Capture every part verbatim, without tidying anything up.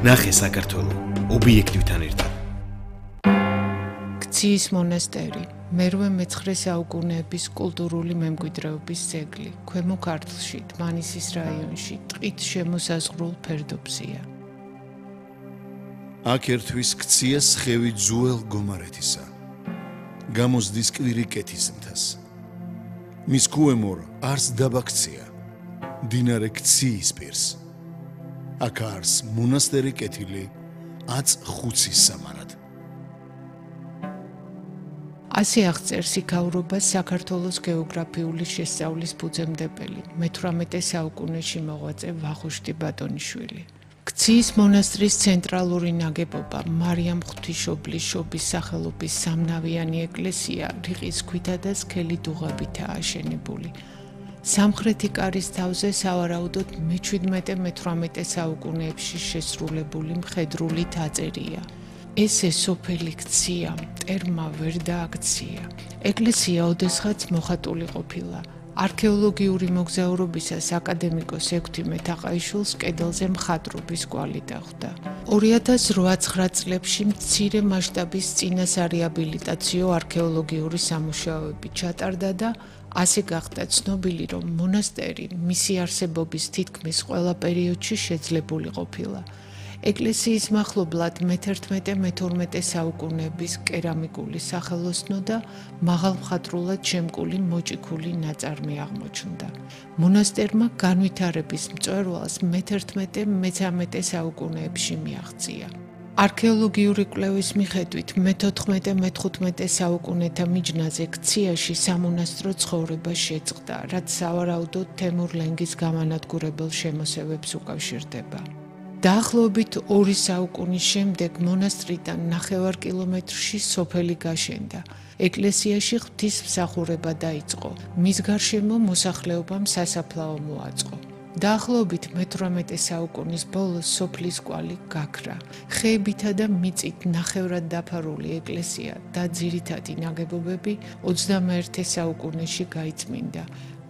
ნახე საქართველო ობიექტივთან ერთად. ქციის მონასტერი, მერვე მეცხრე საუკუნეების კულტურული მემკვიდრეობის ძეგლი, ქვემო ქართლში, დმანისის რაიონში, ტყით შემოსაზღვრულ ფერდობზეა. აქ ერთვის ქცია სხევი ძუელ გომარეთისა. გამოსდის კვირი კეთის მთას. მის ქუემორ არს დაბა ქცია, მდინარე ქციის პირს. აქ არს მონასტერი კეთილი აც ხუცის სამარად. ასე აღწერს იქაურობას საქართველოს გეოგრაფიული შესწავლის ფუძემდებელი, მეთვრამეტე საუკუნეში მოღვაწე ვახუშტი ბატონიშვილი. ქციის მონასტრის ცენტრალური ნაგებობა მარიამ ღვთისმშობლის შობის სახელობის სამნავიანი ეკლესია რიყის ქვითა და სქელი დუღაბითაა აშენებული. სამხრეთი კარის თავზე სავარაუდოდ მეჩვიდმეტე მეთვრამეტე საუკუნეებში შესრულებული მხედრული თაწერია. ესე სოფელი ქცია, მტერმა ვერ დააქცია. ეკლესია ოდესღაც მოხატული ყოფილა. არქეოლოგიური მოგზაურობისას აკადემიკოს ექვთიმე თაყაიშვილს კედელზე მხატვრობის კვალი დახვდა. ორი ათას რვა წლებში მცირე მასშტაბის წინასარეაბილიტაციო არქეოლოგიური სამუშაოები ჩატარდა და ასე გახდა ცნობილი, რომ მონასტერი მისი არსებობის თითქმის ყველა პერიოდში შეძლებული ყოფილა. ეკლესიის მახლობლად მეთერთმეტე მეთორმეტე საუკუნეების კერამიკული სახელოსნო და მაღალმხატვრულად შემკული მოჭიქული ნაწარმი აღმოჩნდა. მონასტერმა განვითარების მწვერვალს მეთერთმეტე მეთორმეტე საუკუნეებში მიაღწია. არქეოლოგიური კვლევის მიხედვით მეთოთხმეტე მეთხუთმეტე საუკუნეთა მიჯნაზე ქციაში სამონასტრო ცხოვრება შეწყდა, რაც სავარაუდოდ თემურ-ლენგის გამანადგურებელ შემოსევებს უკავშირდება. დაახლოებით ორი საუკუნის შემდეგ მონასტრიდან ნახევარ კილომეტრში სოფელი გაშენდა. ეკლესიაში ღვთისმსახურება დაიწყო. მის გარშემო მოსახლეობამ სასაფლაო მოაწყო. დაახლოებით მეთვრამეტე საუკუნის ბოლოს სოფლის კვალი გაქრა. ხეებითა და მიწით ნახევრად დაფარული ეკლესია და ძირითადი ნაგებობები ოცდამეერთე საუკუნეში გაიწმინდა.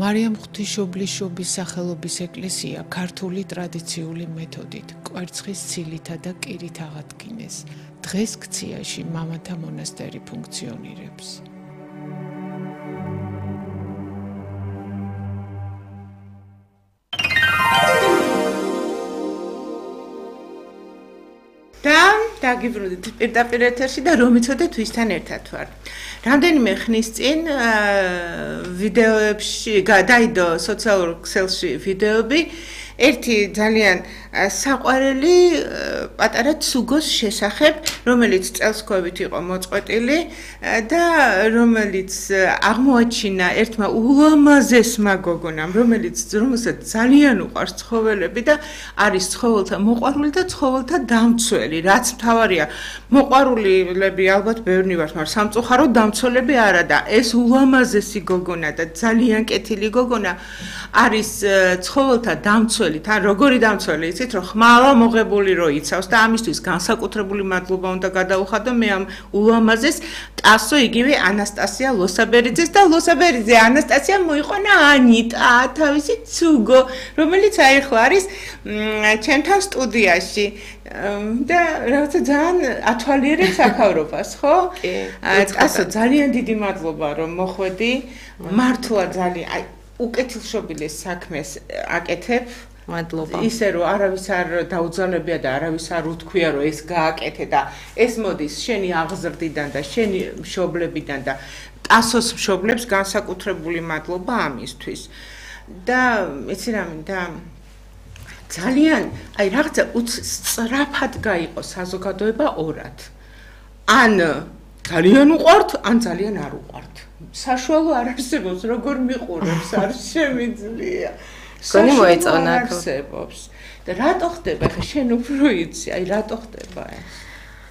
მარიამ ღვთისმშობლის შობის სახელობის ეკლესია ქართული ტრადიციული მეთოდით კვერცხის ცილითა და კირით აღადგინეს. დღეს ქციაში მამათა მონასტერი ფუნქციონირებს. და დაგიბრუნდით პირდაპირ ეთერში და რომ იცოდეთ ვისთან ერთად ვარ. რამდენიმე ხნის წინ ვიდეოებში გადაიდო სოციალურ ქსელში ვიდეოები ერთი ძალიან საყვარელი პატარა ცუგოს შესახებ, რომელიც წელსქვევით იყო მოწყვეტილი და რომელიც აღმოაჩინა ერთმა ულამაზესმა გოგონამ, რომელიც რომელსაც ძალიან უყვარს ცხოველები და არის ცხოველთა მოყვარული და ცხოველთა დამცველი, რაც მთავარია. მოყვარულები ალბათ ბევრი ვართ, მაგრამ სამწუხაროდ დამცველები არა და ეს ულამაზესი გოგონა და ძალიან კეთილი გოგონა არის ცხოველთა დამცველი, თან როგორი დამცველი იცით, რომ ხმალა მოღებული რო იცავს და ამისთვის განსაკუთრებული მადლობა უნდა გადაუხადო მე ამ ულამაზეს ტასო იგივე ანასტასია ლოსაბერიძეს და ლოსაბერიძე ანასტასია მოიყვანა ანიტა თავისი ცუგო, რომელიც აიხლა არის ჩემთან სტუდიაში და რაღაცა ძალიან ათვალიერებს აქავრობას, ხო? ტასო ძალიან დიდი მადლობა რომ მოხვედი, მართლა ძალიან აი უკეთილშობილეს საქმეს აკეთებ. მადლობა. ისე რომ არავის არ დაუძალებია და არავის არ უთქვია რომ ეს გააკეთე და ეს მოდის შენი აღზრდიდან და შენი მშობლებიდან და ტასოს მშობლებს განსაკუთრებული მადლობა ამისთვის. და იცი რა მინდა ძალიან აი რაღაცა სწრაფად გაიყო საზოგადოება ორად. ან ძალიან უყვართ, ან ძალიან არ უყვართ. საშუალო არ არსებობს, როგორ მიყურებს, არ შემიძლია. გონი მოეწონა არსებობს. და რატო ხდება? ხე შენ უფრო იცი, აი რატო ხდება ეს?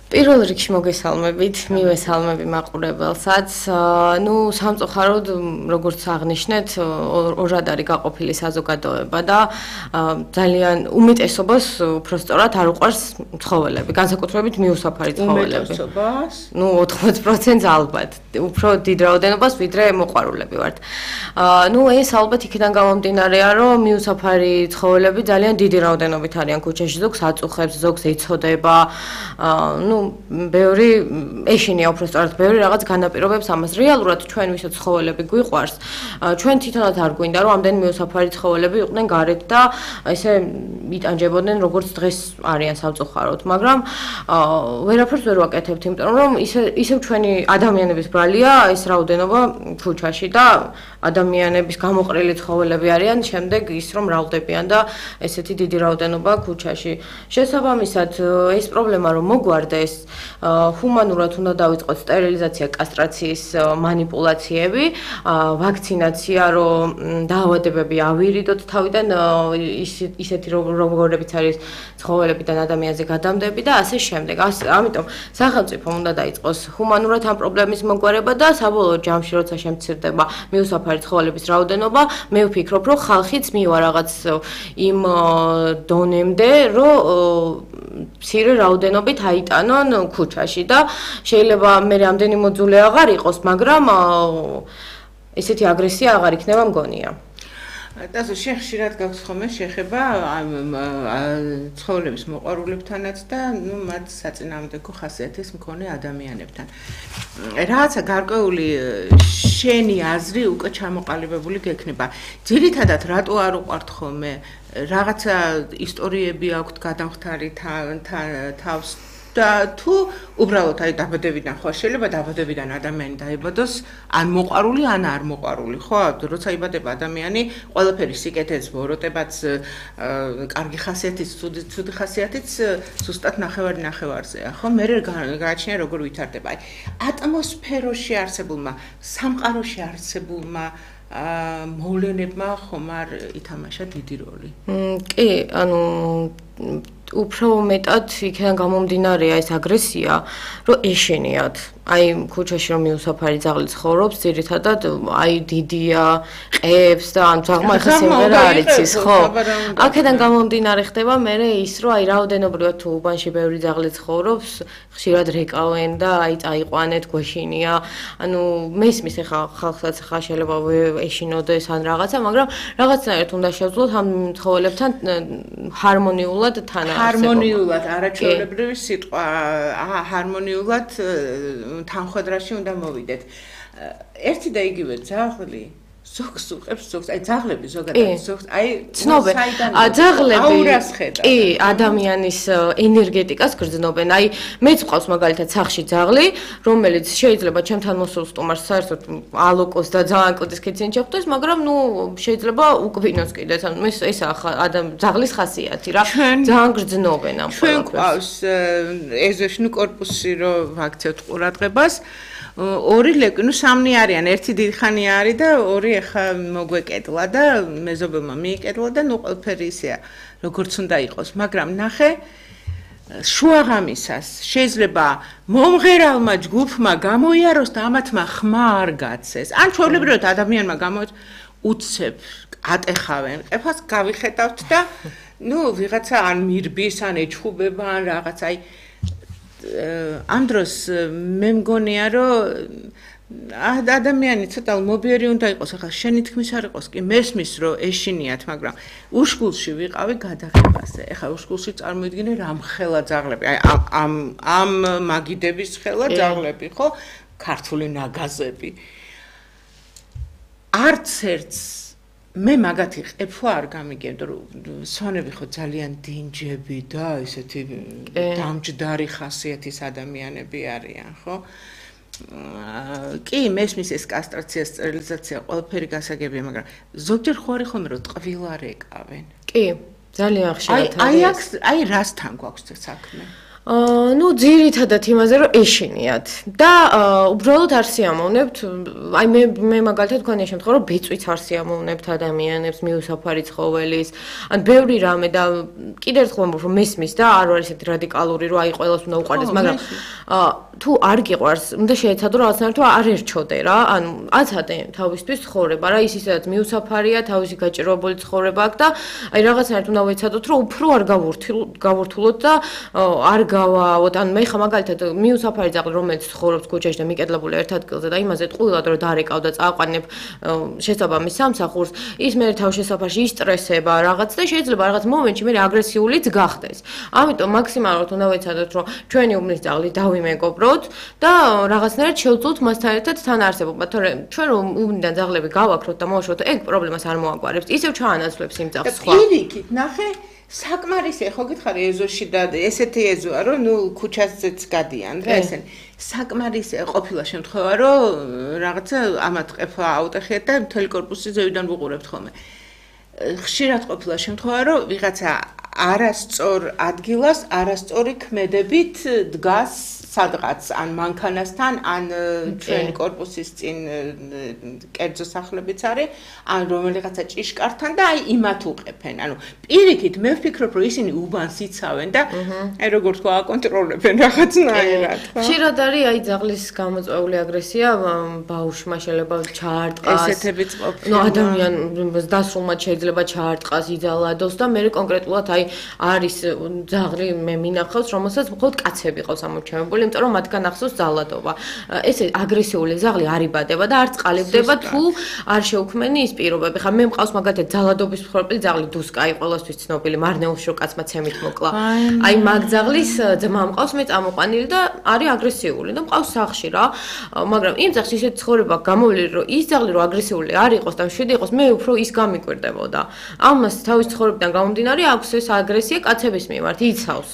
პირველ რიგში მოგესალმებით, მივესალმები მაყურებელსაც. ნუ სამწუხაროდ, როგორც აღნიშნეთ, ორად არის გაყოფილი საზოგადოება და ძალიან უმეტესობას უბრალოდ არ უყვარს ცხოველები, განსაკუთრებით მიუსაფარი ცხოველები. უმეტესობას? ნუ ოთხმოცდაათი პროცენტს ალბათ. უფრო დიდ რაოდენობას ვიდრე მოყვარულები ვართ. ნუ ეს ალბათ იქიდან გამომდინარეა, რომ მიუსაფარი ცხოველები ძალიან დიდი რაოდენობით არიან ქუჩაში, ზოგს აწუხებს, ზოგს ეცოდება. ნუ ბევრი ეშინია უბრალოდ ბევრი რაღაც განაპირობებს ამას. რეალურად ჩვენ ვისაც ცხოველები გვიყვარს, ჩვენ თვითონაც არ გვინდა რომ ამდენ მიუსაფარი ცხოველები იყვნენ გარეთ და ესე იტანჯებოდნენ როგორც დღეს არიან სამწუხაროდ, მაგრამ ვერაფერს ვერ ვაკეთებთ, იმიტომ რომ ისე ისევ ჩვენი ადამიანების ბრალია ეს რაოდენობა ქუჩაში და ადამიანების გამოყრილი ცხოველები არიან, შემდეგ ის რომ მრავლდებიან და ესეთი დიდი რაოდენობა ქუჩაში. შესაბამისად, ეს პრობლემა რომ მოგვარდეს, ჰუმანურად უნდა დავიწყოთ სტერილიზაცია, კასტრაციის манипуляციები, ვაქცინაცია, რომ დაავადებები ავირიდოთ თავიდან, ისეთი როგორებიც არის ცხოველებიდან ადამიანზე გადამდები და ასე შემდეგ. ამიტომ სახელმწიფომ უნდა დაიწყოს ჰუმანურად ამ პრობლემის მოგვარება და საბოლოო ჯამში, როცა შემცირდება მიუსაფარი ცხოველების რაოდენობა, მე ვფიქრობ, რომ ხალხიც მივა რაღაც იმ დონემდე, რომ მცირე რაოდენობით აიტანონ ქუჩაში და შეიძლება მე ამდენი მოძულე აღარ იყოს, მაგრამ ესეთი აგრესია აღარ იქნება მგონია. დასო შეხშირად გაქვს ხოლმე შეხება ამ ცხოველების მოყვარულებთანაც და ნუ მათ საწინააღმდეგო ხასიათის მქონე ადამიანებთან. რაღაცა გარკვეული შენი აზრი უკვე ჩამოყალიბებული გექნება. ძირითადად რატო არ უყვართ ხოლმე რაღაცა ისტორიები აქვთ გადამხდარი თავს და თუ უბრალოდ აი დაბადებიდან ხო შეიძლება დაბადებიდან ადამიანი დაიბადოს ან მოყვარული ან არ მოყვარული ხო როცა იბადება ადამიანი ყველაფერი სიკეთეც ვოროტებაც კარგი ხასიათიც ცუდი ხასიათიც ზუსტად ნახევარი ნახევარზეა ხო მე გააჩნია როგორ ვითარდება აი ატმოსფეროში არსებულმა სამყაროში არსებულმა მოვლენებმა ხომ არ ითამაშა დიდი როლი კი ანუ უფრო მეტად იქიდან გამომდინარეა ეს აგრესია, რომ ეშენიათ. აი ქუჩაში რომ მიუსაფარი ძაღლი ცხოვრობს, ძირითადად აი დიდია, ყებს და ან ძაღლმა ხა სიმღერა არ იცის, ხო? აქედან გამომდინარე ხდება მე ის, რომ აი რაოდენობრივად თუ უბანში ბევრი ძაღლი ცხოვრობს, ხშირად რეკავენ და აი წაიყვანეთ, გვეშინია. ანუ მესმის ხა ხალხსაც ხა შეიძლება ეშინოდეს ან რაღაცა, მაგრამ რაღაცნაირად უნდა შევძლოთ ამ ცხოველებთან ჰარმონიულად თან ჰარმონიულად არაჩვეულებრივი სიტყვა ჰარმონიულად თანხმდრაში უნდა მოვიდეთ. ერთი და იგივე ძაღლი ზოგს უყებს ზოგს, აი ძაღლები ზოგადად ზოგს, აი ცნობენ. ძაღლები კი ადამიანის ენერგეტიკას გრძნობენ. აი მეც ყავს მაგალითად სახში ძაღლი, რომელიც შეიძლება ჩემთან მოსულ სტუმარს საერთოდ ალოკოს და ძალიან კუდის კიცინი შეხვდეს, მაგრამ ნუ შეიძლება უკბინოს კიდეც. ანუ ეს ესაა ძაღლის ხასიათი რა. ძალიან გრძნობენ ამ ყველაფერს. ჩვენ ყავს ეზოშნუ კორპუსი რო ვაქცევთ ყურადღებას. ორი ლეკვი, ნუ სამნი არიან, ერთი დიდხანი არის და ორი ახლა მოგვეკეტლა და მეზობელმა მიიკეტლა და ნუ ყველაფერი ისეა, როგორც უნდა იყოს, მაგრამ ნახე შუაღამისას შეიძლება მომღერალმა ჯგუფმა გამოიაროს და ამათმა ხმა არ გაცეს. ან ჩვეულებრივად ადამიანმა გამოიაროს უცებ ატეხავენ, ყეფას გავიხედავთ და ნუ ვიღაცა ან მირბის, ან ეჩხუბება, ან რაღაც აი ამ დროს მე მგონია რომ ადამიანი ცოტა მობიერი უნდა იყოს ახლა შენი თქმის არ იყოს კი მესმის რომ ეშინიათ მაგრამ უშკულში ვიყავი გადაღებაზე ახლა უშკულში წარმოიდგინე რამ ხელა ძაღლები აი ამ ამ მაგიდების ხელა ძაღლები ხო ქართული ნაგაზები არც ერთს მე მაგათი ყეფვა არ გამიგებდო რომ სვანები ხო ძალიან დინჯები და ესეთი დამჯდარი ხასიათის ადამიანები არიან ხო კი მესმის ეს კასტრაცია სტერილიზაცია ყველაფერი გასაგებია მაგრამ ზოგჯერ ხო არის ხოლმე რომ ტყვილა რეკავენ კი ძალიან ხშირად აი აი აი რასთან გვაქვს საქმე აა ნუ ძირითადად იმაზე რომ ეშინიათ და უბრალოდ არ სიამოვნებთ აი მე მე მაგალითად თქვენია შემთხვევა რომ ბეწვიც არ სიამოვნებთ ადამიანებს მიუსაფარი ცხოველის ან ბევრი რამე და კიდევ ერთხელ ვამბობ რომ მესმის და არ არის ესეთი რადიკალური რომ აი ყველას უნდა უყარდეს მაგრამ აა თუ არ გიყვარს უნდა შეეცადო რაღაცნაირად რომ არ ერჩოდე რა ან აცადე თავისთვის ცხოვრება რა ის ისედაც მიუსაფარია თავისი გაჭირვებული ცხოვრება აქვს და აი რაღაცნაირად უნდა ვეცადოთ რომ უფრო არ გავურთულოთ და არ გავაოთ ან მე ხა მაგალითად მიუსაფარი ძაღლი რომელიც ცხოვრობს ქუჩაში და მიკედლებული ერთ ადგილზე და იმაზე ტყუილად რომ დაარეკავ და წააყვანებ შესაბამის სამსახურს ის მე თავშესაფარში ისტრესება რაღაც და შეიძლება რაღაც მომენტში მე აგრესიულიც გახდეს ამიტომ მაქსიმალურად უნდა ვეცადოთ რომ ჩვენი უბნის ძაღლი დავიმეგობროთ და რაღაცნაირად შევძლოთ მასთან ერთად თან არსებობა თორემ ჩვენ რომ უბნიდან ძაღლები გავაქროთ და მოვაშოროთ ეგ პრობლემას არ მოაგვარებს ისევ ჩაანაცვლებს იმ ძაღლს სხვა პირიქით ნახე საკმარისია ხო გითხარი ეზოში და ესეთი ეზოა რომ ნუ ქუჩაზეც გადიან რა ესენი საკმარისია ყოფილა შემთხვევა რომ რაღაცა ამათ ყეფა აუტეხიათ და მთელი корпуსი ზევიდან ვუყურებთ ხოლმე ხშირად ყოფილა შემთხვევა რომ ვიღაცა არასწორ ადგილას არასწორი ქმედებით დგას სადღაც ან მანქანასთან ან ჩვენ корпуსის წინ კერძო სახლებიც არის ან რომელიღაცა ჭიშკართან და აი იმათ უყეფენ ანუ პირიქით მე ვფიქრობ რომ ისინი უბანს იცავენ და აი როგორ თქვა აკონტროლებენ რაღაცნაირად ხშირად არის აი ძაღლის გამოწვეული აგრესია ბავშვმა შეიძლება ჩაარტყას ესეთებიც ყოფილა ნუ ადამიანს დასრულმად შეიძლება ჩაარტყას იძალადოს და მე კონკრეტულად აი არის ძაღლი მე მინახავს რომელსაც მხოლოდ კაცები ყავს ამორჩევებული იმიტომ რომ მათგან ახსოვს ძალადობა. ესე აგრესიული ძაღლი არ იბადება და არც ყალიბდება თუ არ შეუქმენი ის პირობები. ხა მე მყავს მაგალითად ძალადობის მსხვერპლი ძაღლი დუსკაი ყველასთვის ცნობილი მარნეულში რო კაცმა ცემით მოკლა. აი მაგ ძაღლის ძმა მყავს მე წამოყვანილი და არის აგრესიული და მყავს სახლში რა. მაგრამ იმ ძაღლს ისეთი ცხოვრება გამოვლილი რომ ის ძაღლი რო აგრესიული არ იყოს და მშვიდი იყოს მე უფრო ის გამიკვირდებოდა. ამას თავის ცხოვრებიდან გამომდინარე აქვს ეს აგრესია კაცების მიმართ იცავს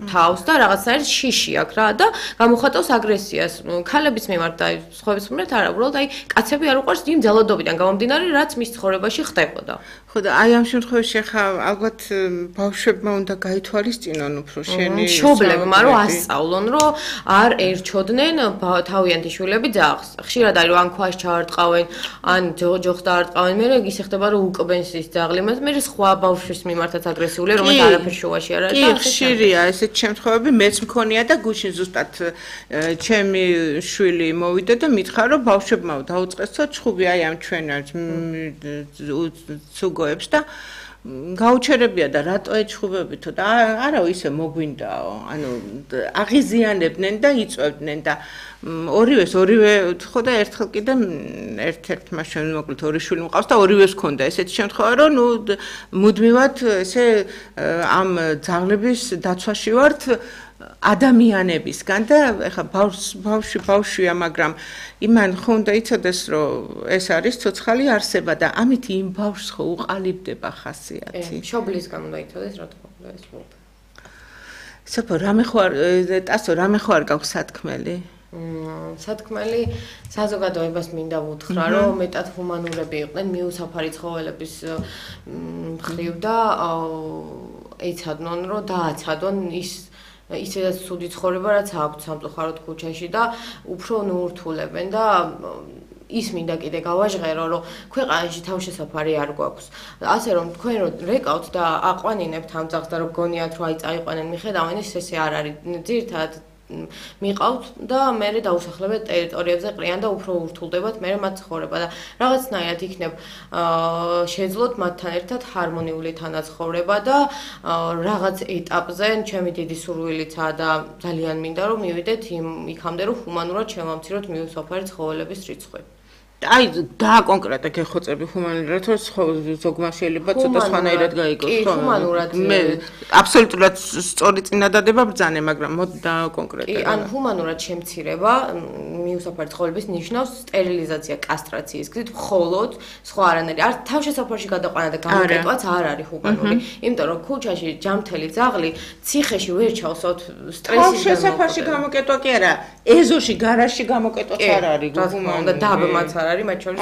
თავს და რაღაცნაირად შიში აქვს რა და გამოხატავს აგრესიას ქალების მიმართ და სხვების მიმართ არა უბრალოდ აი კაცები არ უყვარს იმ ძალადობიდან გამომდინარე რაც მის ცხოვრებაში ხდებოდა ხო და აი ამ შემთხვევაში ხა ალბათ ბავშვებმა უნდა გაითვალისწინონ უფრო შენი მშობლებმა რომ ასწავლონ რომ არ ერჩოდნენ თავიანთი შვილები ძაღლს ხშირად არის რომ ან ქვაში ჩაარტყავენ ან ჯოხს დაარტყავენ მე ის ხდება რომ უკბენს ის ძაღლი მას მე სხვა ბავშვის მიმართაც აგრესიულია რომელიც არაფერ შუაში არ არის და ხშირია ესეთ შემთხვევები მეც მქონია და გუშინ ზუსტად ჩემი შვილი მოვიდა და მითხრა რომ ბავშვებმა დაუწყესო ჩხუბი აი ამ ჩვენ ცუგოებს და გაუჩერებია და რატო ეჩხუბებითო და არა ისე მოგვინდაო ანუ აღიზიანებდნენ და იწვევდნენ და ორივეს ორივე ხო და ერთხელ კიდე ერთ-ერთმა ჩვენ მოკლედ ორი შვილი მყავს და ორივეს ჰქონდა ესეთი შემთხვევა რომ ნუ მუდმივად ესე ამ ძაღლების დაცვაში ვართ ადამიანებისგან და ეხა ბავშვი ბავშვია მაგრამ იმან ხო უნდა იცოდეს რომ ეს არის ცოცხალი არსება და ამით იმ ბავშვს ხო უყალიბდება ხასიათი მშობლისგან უნდა იცოდეს რა თქმა უნდა ეს მოხდა სოფო რამე ხო არ ტასო რამე ხო არ გაქვს სათქმელი სათქმელი საზოგადოებას მინდა ვუთხრა რომ მეტად ჰუმანურები იყვნენ მიუსაფარი ცხოველების მხრივ და ეცადნონ რომ დააცადონ ის ისედაც ცუდი ცხოვრება რაც აქვთ სამწუხაროდ ქუჩაში და უფრო ნურთულებენ და ის მინდა კიდე გავაჟღერო რომ ქვეყანაში თავშესაფარი არ გვაქვს ასე რომ თქვენ რომ რეკავთ და აყვანინებთ ამ ძაღლს და რომ გონიათ რომ აი წაიყვანენ მიხედავენ ეს ესე არ არის ძირითადად მიყავთ და მე დაუსახლებთ ტერიტორიებზე ყრიან და უფრო ურთულდებათ მე მათ ცხოვრება და რაღაცნაირად იქნებ შეძლოთ მათთან ერთად ჰარმონიული თანაცხოვრება და რაღაც ეტაპზე ჩემი დიდი სურვილიცაა და ძალიან მინდა რომ მივიდეთ იმ იქამდე რომ ჰუმანურად შევამციროთ მიუსაფარი ცხოველების რიცხვი აი და კონკრეტულად გეხოცები ჰუმანურად რომ ზოგმა შეიძლება ცოტა სხვანაირად გაიგოს ხო ჰუმანურად მე აბსოლუტურად სწორი წინადადება ბრძანე მაგრამ მოდი და კონკრეტულად კი ან ჰუმანურად შემცირება მიუსაფარი ცხოველების ნიშნავს სტერილიზაცია კასტრაციის გზით მხოლოდ სხვა არანაირი არ თავშესაფარში გადაყვანა და გამოკეტვაც არ არის ჰუმანური იმიტომ რომ ქუჩაში ჯამთელი ძაღლი ციხეში ვერ ჩავსოთ სტრესის თავშესაფარში გამოკეტვა კი არა ეზოში გარაჟში გამოკეტვაც არ არის ჰუმანური და დაბმაც არ არის მათ შორის